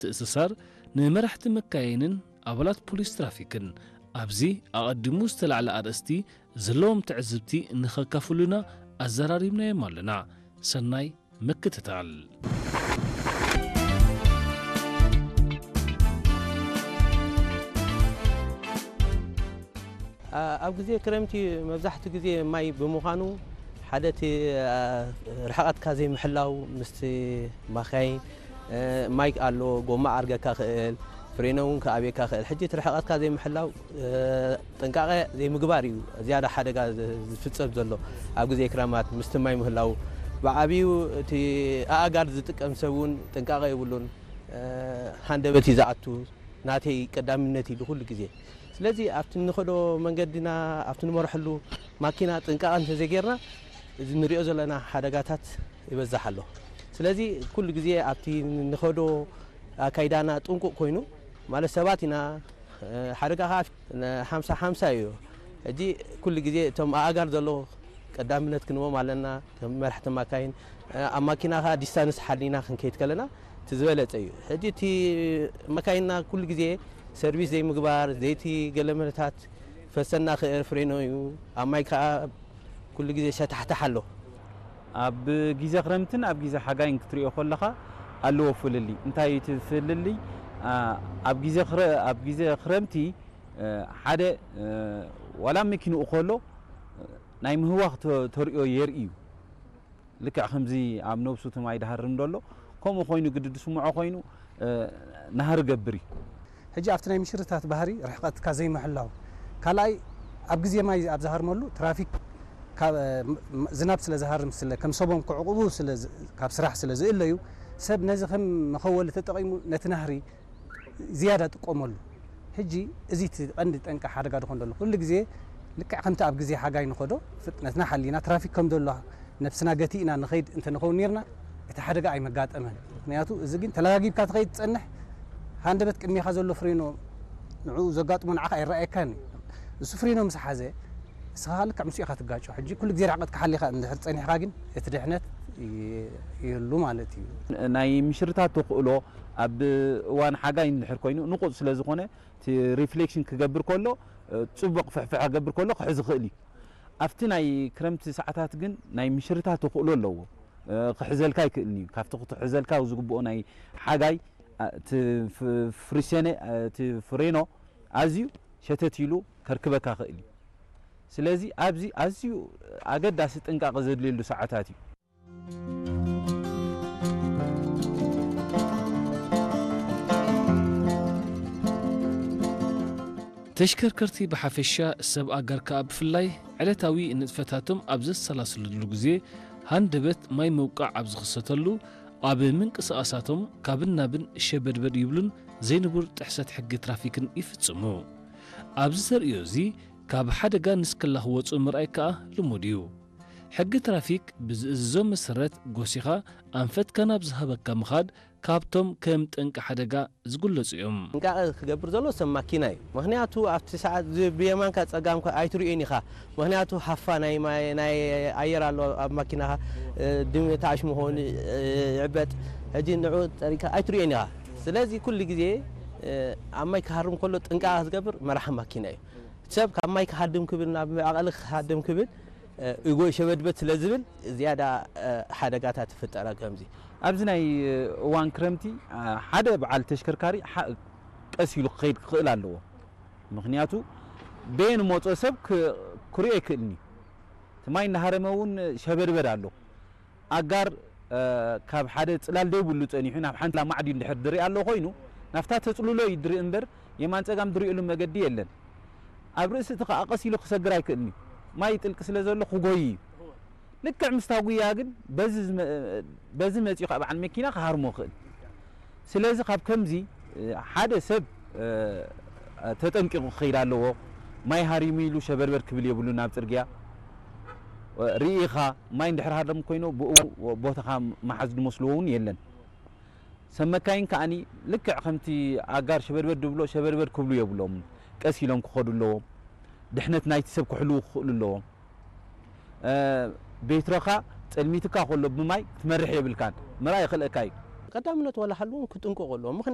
ምትእስሳር ንመራሕቲ መካይንን ኣባላት ፖሊስ ትራፊክን ኣብዚ ኣቐዲሙ ዝተላዕለ ኣርእስቲ ዘለዎም ትዕዝብቲ ንኸካፍሉና ኣዘራሪብናዮም ኣለና። ሰናይ ምክትታል። ኣብ ግዜ ክረምቲ መብዛሕትኡ ግዜ ማይ ብምዃኑ ሓደ እቲ ርሕቐትካ ዘይምሕላው ምስቲ ማካይን፣ ማይ ኣሎ፣ ጎማ ዓርገካ ክእል፣ ፍሬኖ እውን ክኣብየካ ክእል። ሕጂ እቲ ርሕቐትካ ዘይምሕላው ጥንቃቐ ዘይምግባር እዩ ዝያዳ ሓደጋ ዝፍፀም ዘሎ ኣብ ግዜ ክረማት ምስቲ ማይ ምህላው። ብዓብዩ እቲ ኣእጋር ዝጥቀም ሰብ እውን ጥንቃቐ የብሉን። ሃንደበት እዩ ዝኣቱ፣ ናተይ ቀዳምነት ኢሉ ኩሉ ግዜ። ስለዚ ኣብቲ ንኸዶ መንገድና ኣብቲ ንመርሐሉ ማኪና ጥንቃቐ እንተዘይጌርና እዚ ንሪኦ ዘለና ሓደጋታት ይበዛሕ ኣሎ። ስለዚ ኩሉ ግዜ ኣብቲ ንኸዶ ኣካይዳና ጥንቁቕ ኮይኑ ማለት ሰባት ኢና። ሓደጋ ከዓ ሓምሳ ሓምሳ እዩ። ሕጂ ኩሉ ግዜ እቶም ኣእጋር ዘሎ ቀዳምነት ክንቦም ኣለና። ከም መራሕቲ ማካይን ኣብ ማኪና ከዓ ዲስታንስ ሓሊና ክንከይድ ከለና እቲ ዝበለፀ እዩ። ሕጂ እቲ መካይንና ኩሉ ግዜ ሰርቪስ ዘይምግባር፣ ዘይቲ ገለመለታት ፈሰና ክእል ፍሬኖ እዩ። ኣብ ማይ ከዓ ኩሉ ግዜ ሸታሕታሕ ኣሎ። ኣብ ግዜ ክረምትን ኣብ ግዜ ሓጋይን ክትሪኦ ከለኻ ኣለዎ ፍልልይ። እንታይ እዩ እቲ ፍልልይ? ኣብ ግዜ ክረ-፣ ኣብ ግዜ ክረምቲ ሓደ ዋላ መኪንኡ ከሎ ናይ ምህዋኽ ተ-፣ ተርእዮ የርኢ እዩ። ልክዕ ከምዚ ኣብ ነብሱ እቲ ማይ ድሃርም ደሎ ከምኡ ኮይኑ ግዲ ድስምዖ ኮይኑ ናህሪ ገብር እዩ። ሕጂ ኣብቲ ናይ ምሽርታት ባህሪ ርሕቐትካ ዘይምሕላው፣ ካልኣይ ኣብ ግዜ ማይ ኣብ ዝሃርመሉ ትራፊክ ካብ ዝናብ ስለ ዝሃርም ስለ ከም ሰቦም ክዕቁቡ ስለ ዝ-፣ ካብ ስራሕ ስለ ዝእለዩ ሰብ ነዚ ከም መኸወሊ ተጠቒሙ ነቲ ናህሪ ዝያዳ ጥቀመሉ። ሕጂ እዚ እቲ ቀንዲ ጠንቂ ሓደጋ ድኾን ደሎ። ኩሉ ግዜ ልክዕ ከምቲ ኣብ ግዜ ሓጋይ ንኸዶ ፍጥነትና ሓሊና ትራፊክ ከም ዘሎ ነብስና ገቲእና ንኸይድ እንተንኸውን ኔርና እቲ ሓደጋ ኣይመጋጠመን። ምክንያቱ እዚ ግን ተለጋጊብካ ትኸይድ ትጸንሕ፣ ሃንደበት ቅድሜኻ ዘሎ ፍሬኖ ንዕኡ ዘጋጥሞ ንዓኻ ኣይረኣየካን እዩ። እሱ ፍሬኖ ምስ ሓዘ እስኻ ልክዕ ምስ ኢኻ ትጋጮ። ሕጂ ኩሉ ግዜ ርሕቀትካ ሓሊኻ እንድሕር ጸኒሕካ ግን እቲ ድሕነት ይ-፣ ይህሉ ማለት እዩ። ናይ ምሽርታት ተኽእሎ ኣብ እዋን ሓጋይ እንድሕር ኮይኑ ንቑጽ ስለ ዝኾነ እቲ ሪፍሌክሽን ክገብር ከሎ፣ ጽቡቕ ፍሕፍሕ ክገብር ከሎ ክሕዝ ይኽእል እዩ። ኣብቲ ናይ ክረምቲ ሰዓታት ግን ናይ ምሽርታት ተኽእሎ ኣለዎ። ክሕዘልካ ኣይክእልን እዩ። ካብቲ ክትሕዘልካ ዝግብኦ ናይ ሓጋይ፣ እቲ ፍ-፣ ፍሪሴነ፣ እቲ ፍሬኖ ኣዝዩ ሸተት ኢሉ ከርክበካ ክእል እዩ። ስለዚ ኣብዚ ኣዝዩ ኣገዳሲ ጥንቃቐ ዘድልየሉ ሰዓታት እዩ። ተሽከርከርቲ ብሓፈሻ፣ ሰብ ኣጋር ከኣ ብፍላይ፣ ዕለታዊ ንጥፈታቶም ኣብ ዘሰላስልሉ ግዜ፣ ሃንደበት ማይ ምውቃዕ ኣብ ዝኽሰተሉ፣ ኣብ ምንቅስቓሳቶም ካብን ናብን ሸበድበድ ይብሉን ዘይንቡር ጥሕሰት ሕጊ ትራፊክን ይፍጽሙ። ኣብዚ ተርእዮ እዚ፣ ካብ ሓደጋ ንስክላ ክወጹ ምርኣይ ከኣ ልሙድ እዩ። ሕጊ ትራፊክ ብዝእዝዞ መሰረት ጎሲኻ ኣንፈትካ ናብ ዝሃበካ ምኻድ ካብቶም ከም ጠንቂ ሓደጋ ዝግለጹ እዮም። ጥንቃቐ ክገብር ዘለዎ ሰብ ማኪና እዩ። ምኽንያቱ ኣብቲ ሰዓት እዚ ብየማንካ ጸጋምካ ኣይትርእዮን ኢኻ። ምኽንያቱ ሃፋ ናይ ማይ፣ ናይ ኣየር ኣሎ ኣብ ማኪናኻ፣ እ፣ ድም-፣ ተኣሽሙ ክኸውን፣ እ፣ ይዕበጥ። ሕጂ ንዑ ጸሪግካ ኣይትርእዮን ኢኻ። ስለዚ ኩሉ ግዜ፣ እ፣ ኣብ ማይ ክሃርም ከሎ ጥንቃቐ ዝገብር መራሒ ማኪና እዩ። ሰብ ካብ ማይ ክሃድም ክብል፣ ናብ መዕቐሊ ክሃድም ክብል፣ እ፣ እጎ ሸበድበድ ስለ ዝብል ዝያዳ፣ እ፣ ሓደጋታት ይፍጠራ። ከምዚ ኣብዚ ናይ እዋን ክረምቲ፣ እ፣ ሓደ በዓል ተሽከርካሪ ሓ-፣ ቀስ ኢሉ ክኸይድ ክኽእል ኣለዎ። ምኽንያቱ በየን መጾ ሰብ ክ-፣ ክርእዮ ኣይክእልን እዩ። እቲ ማይ እናሃረመ እውን ሸበድበድ ኣሎ። ኣጋር፣ እ፣ ካብ ሓደ ጽላል ደይብሉ ጸኒሑ ናብ ሓንቲ ላማዕዲ እንድሕር ድርኢ ኣሎ ኮይኑ፣ ናብታ ተጽልሎ እዩ ድርኢ እምበር፣ የማን ጸጋም ድርእየሉ መገዲ የለን። ኣብ ርእሲ እቲ ኸኣ ቀስ ኢሉ ክሰግር ኣይክእልን እዩ። ማይ ጥልቂ ስለ ዘሎ ክጎይ እዩ። ልክዕ ምስታ ጉያ ግን በዚ ዝመ-፣ በዚ መጺኡ ኸኣ በዓል መኪና ክሃርሞ ይኽእል። ስለዚ ካብ ከምዚ፣ እ፣ ሓደ ሰብ፣ እ፣ ተጠንቂቑ ክኸይድ ኣለዎ። ማይ ሃሪሙ ኢሉ ሸበርበር ክብል የብሉን ኣብ ጽርግያ። እ፣ ርኢኻ ማይ እንድሕር ሃረም ኮይኑ ብኡ ቦታኻ መሓዝ ዝመስልዎ እውን የለን። ሰብ መካይን ከኣኒ ልክዕ ከምቲ ኣጋር ሸበድበድ ዝብሎ ሸበድበድ ክብሉ የብሎምን። ቀስ ኢሎም ክኸዱ ኣለዎም። ድሕነት ናይቲ ሰብ ክሕልዉ ክኽእሉ ኣለዎም። እ፣ ቤትሮኻ ጸልሚትካ ከሎ ብማይ ክትመርሕ የብልካን። ምርኣይ ይኽልእካ እዩ። ቀዳምነት ዋላ ሃልዎም ክጥንቀቑ ኣለዎም። ምኽንያቱ